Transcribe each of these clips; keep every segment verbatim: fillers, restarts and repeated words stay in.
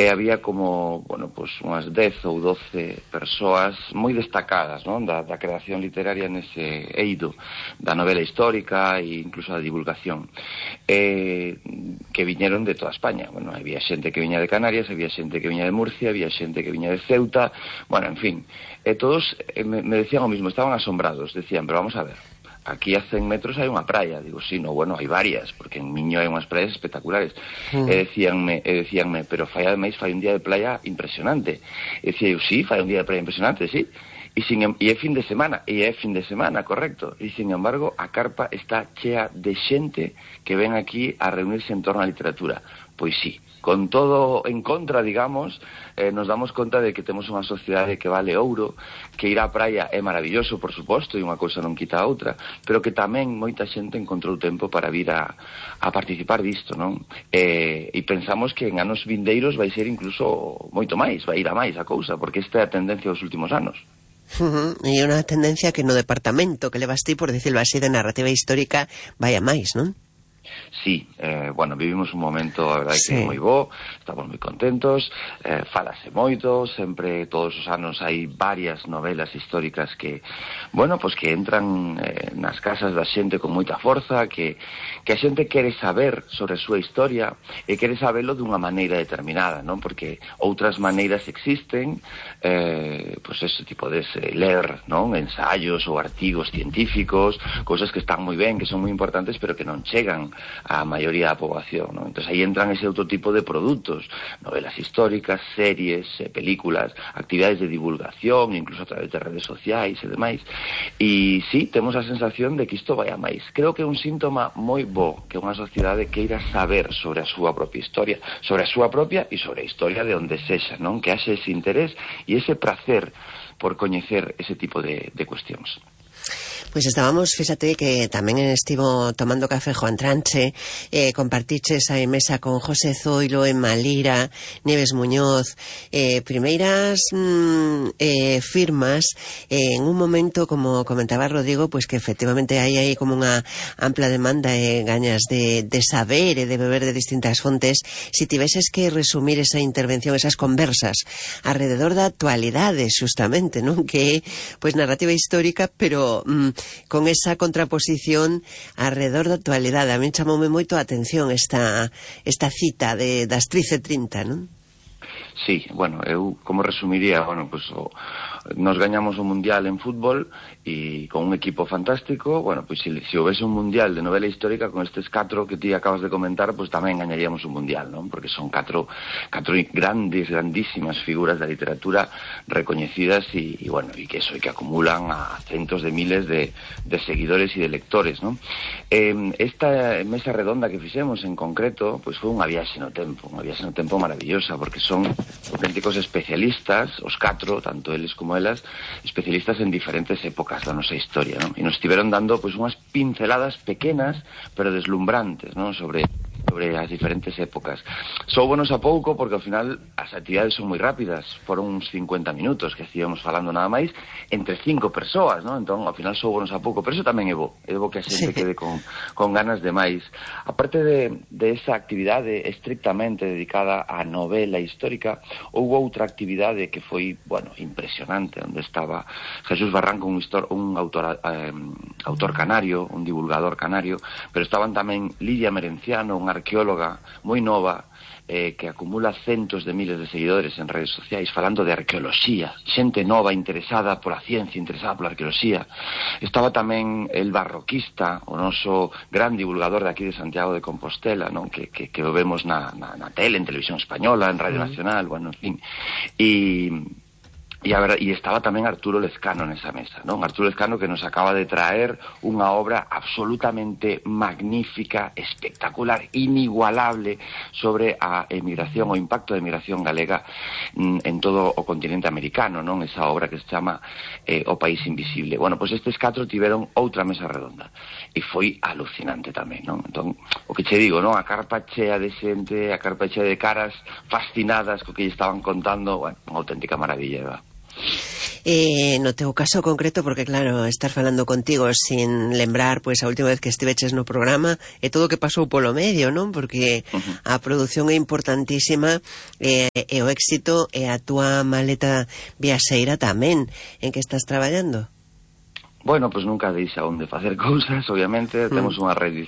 e había como, bueno, pues unhas dez ou doce persoas moi destacadas, non, da, da creación literaria nese eido da novela histórica e incluso da divulgación, eh, que viñeron de toda España. Bueno, había xente que viña de Canarias, había xente que viña de Murcia, había xente que viña de Ceuta, bueno, en fin, e todos eh, me, me decían o mismo, estaban asombrados, decían, pero vamos a ver, aquí a cen metros hai unha praia. Digo, sí, no, bueno, hai varias, porque en Miño hai unhas praias espectaculares. Mm. E decíanme, e decíanme, pero fai ademais fai un día de playa impresionante. E decía eu, sí, fai un día de playa impresionante, sí. E, sin, e é fin de semana, e é fin de semana, correcto. E, sin embargo, a carpa está chea de xente que ven aquí a reunirse en torno á literatura. Pois sí, con todo en contra, digamos, eh, nos damos conta de que temos unha sociedade que vale ouro, que ir á praia é maravilloso, por suposto, e unha cousa non quita a outra, pero que tamén moita xente encontrou tempo para vir a, a participar disto, non? E, e pensamos que en anos vindeiros vai ser incluso moito máis, vai ir a máis a cousa, porque esta é a tendencia dos últimos anos. Uh-huh. E unha tendencia que no departamento que levas ti, por dicirlo así, de narrativa histórica vai a máis, non? Sí, eh, bueno, vivimos un momento, a verdade, sí, que é moi bo, estamos moi contentos, eh, falase moito, sempre, todos os anos hai varias novelas históricas que, bueno, pues que entran eh, nas casas da xente con moita forza, que, que a xente quere saber sobre a súa historia e quere sabelo dunha maneira determinada, non? Porque outras maneiras existen, eh, pues ese tipo de ese, ler, non? Ensaios ou artigos científicos, cousas que están moi ben, que son moi importantes, pero que non chegan a maioría da poboación, ¿no? Entonces aí entran ese outro tipo de produtos, novelas históricas, series, eh, películas, actividades de divulgación, incluso a través de redes sociais e demais. E sí, temos a sensación de que isto vai a máis. Creo que é un síntoma moi bo que unha sociedade queira saber sobre a súa propia historia, sobre a súa propia e sobre a historia de onde sexa, non? Que haxe ese interés e ese prazer por coñecer ese tipo de, de cuestións. Pois estábamos, fíxate que tamén estivo tomando café Juan Tranche, eh, compartiches a mesa con José Zoilo, Emma Lira, Nieves Muñoz, eh, primeiras mm, eh, firmas eh, en un momento, como comentaba Rodrigo, pues que efectivamente hai aí como unha ampla demanda e eh, gañas de, de saber e de beber de distintas fontes. Si tiveses que resumir esa intervención, esas conversas alrededor da actualidade, justamente, non? Que é, pues, narrativa histórica, pero mm, con esa contraposición alrededor da actualidade. A mí chamoume moito a atención esta, esta cita de, das trece trinta, non? Sí, bueno, eu como resumiría, bueno, pues o, nos gañamos un mundial en fútbol e con un equipo fantástico, bueno, pues se si houvese un mundial de novela histórica con estes catro que ti acabas de comentar, pues tamén gañaríamos un mundial, non? Porque son catro, catro grandes, grandísimas figuras da literatura recoñecidas e, e bueno, e que eso, e que acumulan a centos de miles de, de seguidores e de lectores, non? Eh, esta mesa redonda que fixemos en concreto, pues foi unha viaxe no tempo, unha viaxe no tempo maravillosa, porque son auténticos especialistas, os catro, tanto eles como elas, especialistas en diferentes épocas da nosa historia, non? E nos estiveron dando pues unhas pinceladas pequenas, pero deslumbrantes, non? Sobre sobre as diferentes épocas. Soubonos a pouco porque ao final as actividades son moi rápidas, foron uns cincuenta minutos que estivemos falando nada máis entre cinco persoas, non? Entón ao final soubonos a pouco, pero eso tamén é bo, é bo que a xente sí. quede con, con ganas de máis. Aparte de, de esa actividade estrictamente dedicada á novela histórica, houve outra actividade que foi, bueno, impresionante, onde estaba Jesús Barranco, un, histor, un autor, eh, autor canario, un divulgador canario, pero estaban tamén Lidia Merenciano, unha arqueóloga moi nova, eh, que acumula centos de miles de seguidores en redes sociais falando de arqueoloxía, xente nova interesada pola ciencia, interesada pola arqueoloxía. Estaba tamén el Barroquista, o noso gran divulgador de aquí de Santiago de Compostela, non? Que, que, que o vemos na, na, na tele, en Televisión Española, en Radio Nacional, bueno, en fin. E... E, a ver, e estaba tamén Arturo Lezcano nesa mesa, non? Arturo Lezcano que nos acaba de traer unha obra absolutamente magnífica, espectacular, inigualable sobre a emigración, o impacto da emigración galega en todo o continente americano, non? Esa obra que se chama eh, O País Invisible. Bueno, pois pues estes catro tiveron outra mesa redonda e foi alucinante tamén, non? Entón, o que che digo, non? A carpa chea de xente, a carpa chea de caras fascinadas co que lle estaban contando, bueno, unha auténtica maravilla, ¿verdad? Eh, no teu caso concreto, porque claro, estar falando contigo sin lembrar pois a última vez que estiveches no programa e todo o que pasou polo medio, non? Porque uh-huh. a produción é importantísima e, e o éxito e a túa maleta viaxeira tamén, en que estás traballando. Bueno, pois pues nunca deixa onde facer cousas, obviamente, mm. temos unha red.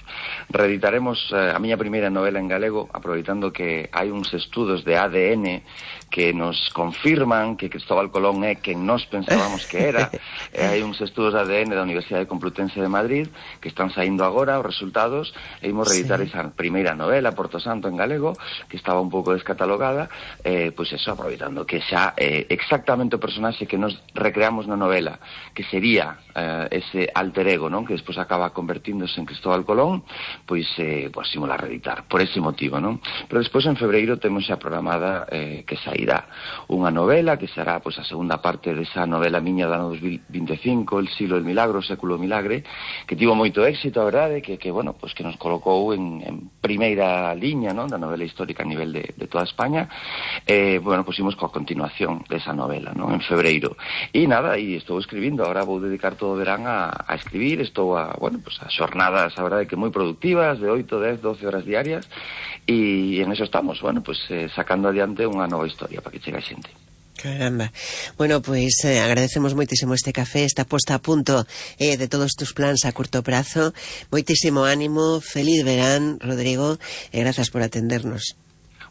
Reeditaremos eh, a miña primeira novela en galego, aproveitando que hai uns estudos de A D N que nos confirman que Cristóbal Colón é quen nós pensábamos que era. E hai uns estudos de A D N da Universidade Complutense de Madrid que están saindo agora os resultados, e imos reeditar sí. esa primeira novela, Porto Santo, en galego, que estaba un pouco descatalogada, eh, pois eso, aproveitando que xa eh, exactamente o personaxe que nos recreamos na novela, que sería eh, ese alter ego, non? Que despois acaba convertíndose en Cristóbal Colón, pois, eh, pois imos a reeditar, por ese motivo, non? Pero despois en febreiro temos xa programada eh, que sairá unha novela, que será pois a segunda parte desa novela miña do ano dos mil vinte e cinco, El siglo del milagro, o século do milagre, que tivo moito éxito, a verdade, que, que bueno, pois que nos colocou en, en primeira liña, non? Da novela histórica a nivel de, de toda España. Eh, bueno, pois imos coa continuación desa novela, non? En febreiro. E nada, e estou escribindo, agora vou dedicar todo o verán a, a escribir, estou a, bueno, pues a xornadas, a verdade que moi productivas, de oito, dez, doce horas diarias, e en eso estamos, bueno, pues eh, sacando adiante unha nova historia para que chegue a xente. Caramba. Bueno, pois pues, eh, agradecemos moitísimo este café, esta posta a punto eh, de todos tus plans a curto prazo. Moitísimo ánimo, feliz verán, Rodrigo, e grazas por atendernos.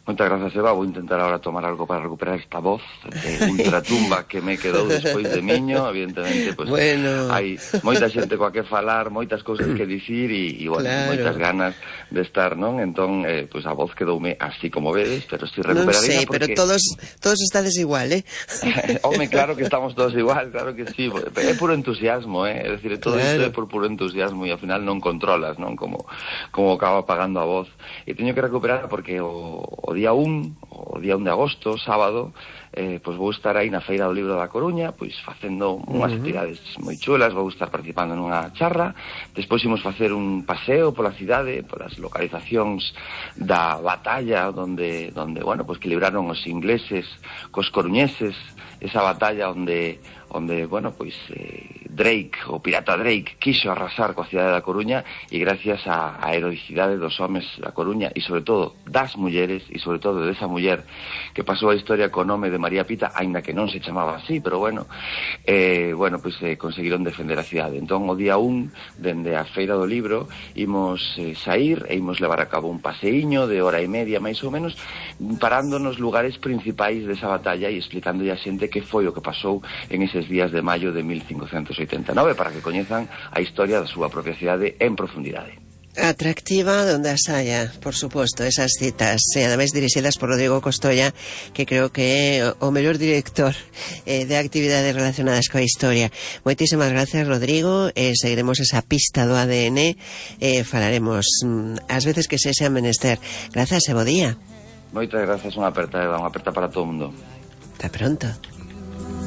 Moitas grazas, Eva. Vou intentar ahora tomar algo para recuperar esta voz de ultratumba que me quedou despois de miño. Evidentemente, pues, bueno. hai moita xente coa que falar, moitas cousas que dicir e, e bueno, claro. moitas ganas de estar, non? Entón, eh, pues a voz quedoume así como vedes, pero estoy recuperadita. Non sei, porque... pero todos todos estades igual, eh? Home, claro que estamos todos igual, claro que sí. É puro entusiasmo, eh? É dicir, todo claro. isto é por puro entusiasmo e ao final non controlas, non? Como, como acaba apagando a voz. E teño que recuperar porque o, o día un, o día un de agosto, sábado, eh, pois vou estar aí na Feira do Libro da Coruña, pois facendo unhas uh-huh. actividades moi chulas, vou estar participando nunha charra, despois imos facer un paseo pola cidade, polas localizacións da batalla onde, onde bueno, pois que libraron os ingleses cos coruñeses, esa batalla onde onde, bueno, pois eh, Drake, o pirata Drake, quixo arrasar coa cidade da Coruña e gracias á, á heroicidade dos homes da Coruña e sobre todo das mulleres e sobre todo desa muller que pasou a historia co nome de María Pita, aínda que non se chamaba así, pero bueno, eh, bueno, pois eh, conseguiron defender a cidade. Entón, o día un, dende a Feira do Libro, imos eh, sair e imos levar a cabo un paseiño de hora e media, máis ou menos, parando nos lugares principais desa batalla e explicando a xente que foi o que pasou en eses días de maio de mil cincocentos oitenta e nove para que coñezan a historia da súa propia cidade en profundidade. Atractiva donde as haya, por suposto, esas citas, e ademais dirixidas por Rodrigo Costoya, que creo que é o mellor director eh, de actividades relacionadas coa historia. Moitísimas gracias, Rodrigo, e eh, seguiremos esa pista do A D N, e eh, falaremos mm, as veces que se xa menester. Grazas e bo día. Moitas grazas, unha aperta, Eva, unha aperta para todo o mundo. Hasta pronto.